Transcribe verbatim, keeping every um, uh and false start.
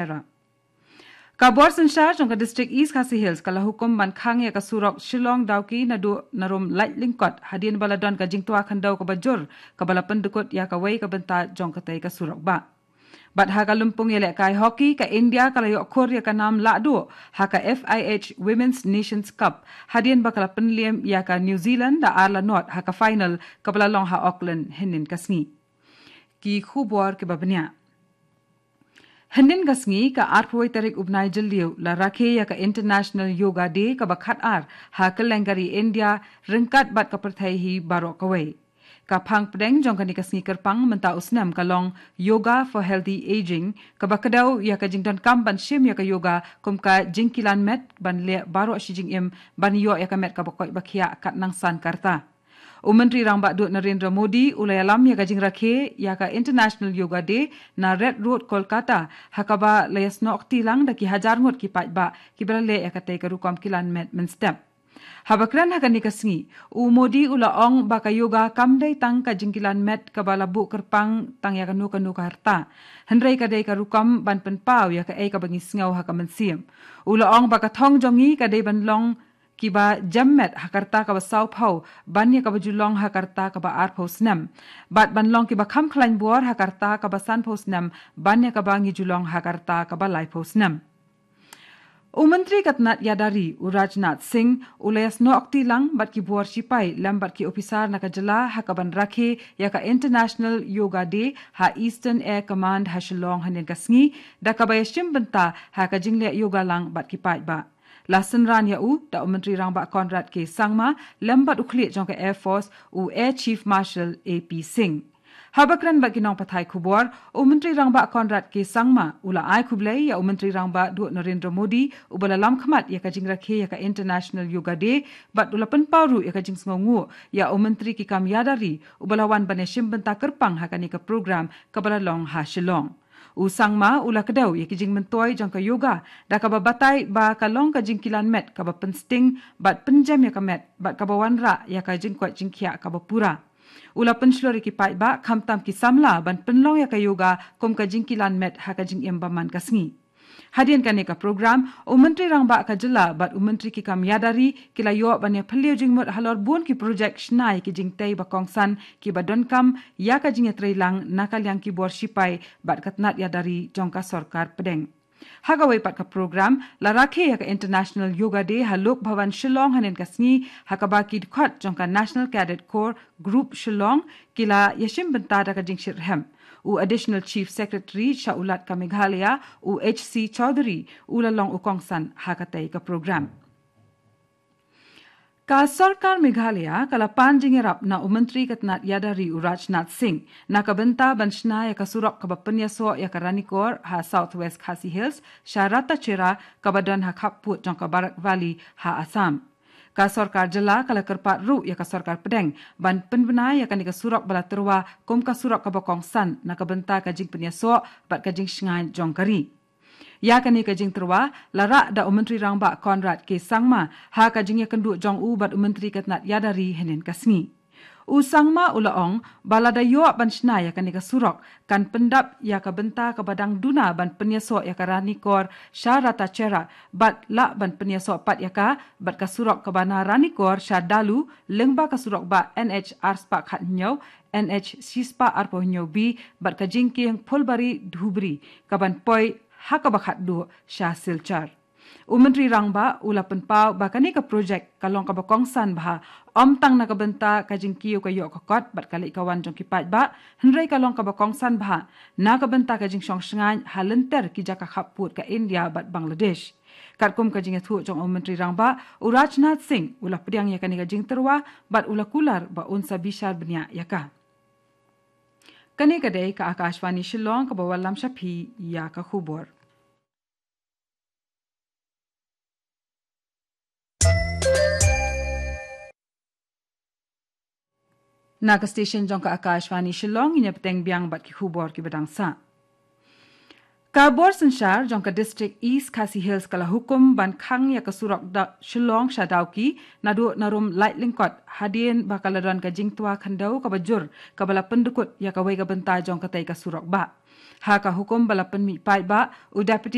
Chera. Ka bor synshar jong ka District East Khasi Hills ka la hukum ban khang ïa ka surok Shillong Dawki naduh na rum Laitlyngkot hadien ba la don ka jingtwa khyndew kaba jur kaba la pyndkut ïa kawei ka bynta jong katei ka surok bah. Bad ha ka lympung ïalehkai hockey, ka India ka la ïoh khur ïa ka nam lahduh ha ka F I H Women's Nations Cup hadien ba ka la pynliem ïa ka New Zealand da ar la nod ha ka final kaba la long ha Auckland hynnin ka sngi. Ki khubor kiba bniah. Hynnin ka sngi, ka arphew tarik u bnai Jylliew, la rakhe ïa ka International Yoga Day kaba khatar ha kylleng ka ri India ryngkat bad ka pyrthei hi baroh kawei. Ka phang pdeng jong kane ka sngi kyrpang mynta u snem ka long Yoga for Healthy Aging, kaba kdew ïa ka jingdonkam ban shim ïa ka yoga kum ka jingkilan met ban leh baroh shi jingim ban ïoh ïa ka met kaba koit ba khiah kat nang san ka rta. U Myntri Rangbah Duh Narendra Modi u la ïalam ïa ka jingrakhe ïa ka International Yoga Day na Red Road, Kolkata, ha kaba la ïasnoh kti lang da ki hajar ngut ki paidbah kiba la leh ïa katei ka rukom kilan met mynstep. Haba kren ha kane ka sngi, u Modi u la ong ba ka yoga kam dei tang ka jingkilan met kaba la buh kyrpang tang ïa kano kano ka rta, hynrei ka dei ka rukom ban pynpaw ïa kaei kaba ngi sngew ha ka mynsiem. U la ong ba ka thong jong ngi ka dei ban long kiba jem met ha ka rta kaba sawphew ban ïa kaba ju long ha ka rta kaba arphew snem, bad ban long kiba kham khlaiñ bor ha ka rta kaba sanphew snem ban ïa kaba ngi ju long ha ka rta kaba laiphew snem. U Myntri ka tnat ïada ri u Rajnath Singh u la ïasnoh kti lang bad ki bor shipai lem bad ki ophisar na ka jylla ha kaban rakhe ïa ka International Yoga Day ha Eastern Air Command ha Shillong hynnin ka sngi, da kaba ïashim bynta ha ka jingleh yoga lang bad ki paidbah. La synran ïa u da u Myntri Rangbah Conrad K Sangma lem bad u khlieh jong ka Air Force, u Air Chief Marshal A P Singh. Haba kren bad ki nongpathai khubor, u Myntri Rangbah Conrad K Sangma u la ai khublei ïa u Myntri Rangbah Duh Narendra Modi uba la lam khmat ïa ka jingrakhe ïa ka International Yoga Day, bad u la pynpaw ruh ïa ka jingsngewnguh ïa u Myntri ki kam ïada ri uba la wan ban ïashim bynta kyrpang ha kane ka program kaba la long ha Shillong. U Sangma u la kdew ïa ki jingmyntoi jong ka yoga da kaba batai ba ka long ka jingkilan met kaba pynsting bad pynjem ïa ka met bad kaba wanrah ïa ka jingkoit jingkhiah kaba pura. U la pynshlur ïa ki paidbah khamtam ki samla ban pynlong ïa ka yoga kum ka jingkilan met ha ka jingim ba man ka sngi. Hadien kane ka program, u Myntri Rangbah ka jylla bad u Myntri ki kam ïada ri ki la ïoh ban ïaphylliew jingmut halor bun ki projek shna ïa ki jingtei ba kongsan kiba donkam ïa ka jingïatreilang na ka liang ki bor shipai bad ka tnat ïada ri jong ka sorkar pdeng. Ha kawei pat ka program, la rakhe ïa ka International Yoga Day ha Lok Bhavan Shillong hynnin ka sngi, ha kaba ki dkhot jong ka National Cadet Corps Group Shillong ki la ïashim bynta da ka jingshitrhem. U Additional Chief Secretary sha u Lat ka Meghalaya, u H C Chaudhary, u la long u kongsan ha katei ka program. Ka sorkar Meghalaya ka la pan jingïarap na u Myntri ka tnat ïada ri u Rajnath Singh na ka bynta ban shna ïa ka surok kaba pynïasoh ïa ka Ranikor ha South West Khasi Hills sha Ratacherra kaba don ha khappud jong ka Barak Valley ha Assam. Ka sorkar jylla ka la kyrpad ruh ïa ka sorkar pdeng ban pynbna ïa kane ka surok ba la tyrwa kum ka surok kaba kongsan na ka bynta ka jingpynïasoh bad ka jingshngaiñ jong ka ri. Ïa kane ka jingtyrwa la rah da u Myntri Rangbah Conrad K Sangma ha ka jingïakynduh jong u bad u Myntri ka tnat ïada ri hynnin ka sngi. U Sangma u la ong ba lada ïoh ban shna ïa kane ka surok kan pyndap ïa ka bynta kaba dang duna ban pynïasoh ïa ka Ranikor sha Ratacherra bad lah ban pynïasoh pat ïa ka bad ka surok kaba na Ranikor sha Dalu lyngba ka surok bah N H ar spah khat hynñiew, N H shi spah arphew hynñiew B bad ka jingkieng Phulbari Dhubri kaban poi ha kaba khatduh sha Silchar. U Myntri Rangbah u la pynpaw ba kane ka projek ka long kaba kongsan bha, ym tang na ka bynta ka jingkiew ka ïoh ka kot bad ka leit ka wan jong ki paidbah, hynrei ka long kaba kongsan bha na ka bynta ka jingshong shngaiñ ha lynter ki jaka khappud ka India bad Bangladesh. Katkum ka jingïathuh jong u Myntri Rangbah, u Rajnath Singh u la pdiang ïa kane ka jingtyrwa bad u la kular ba un sa bishar bniah ïa ka. Kane ka dei ka Akashvani Shillong kaba wallam sha phi ïa ka khubor. Na ka station jong ka Akashvani Shillong, ngin ïa bteng biang bad ki khubor kiba dang sah. Ka bor synshar jong ka District East Khasi Hills ka la hukum ban khang ïa ka surok da Shillong sha Dawki naduh na rum Laitlyngkot hadien ba ka la don ka jingtwa khyndew kaba jur kaba la pyndkut ïa kawei ka bynta jong katei ka surok bah. Ha ka hukum ba la pynmih paidbah, u Deputy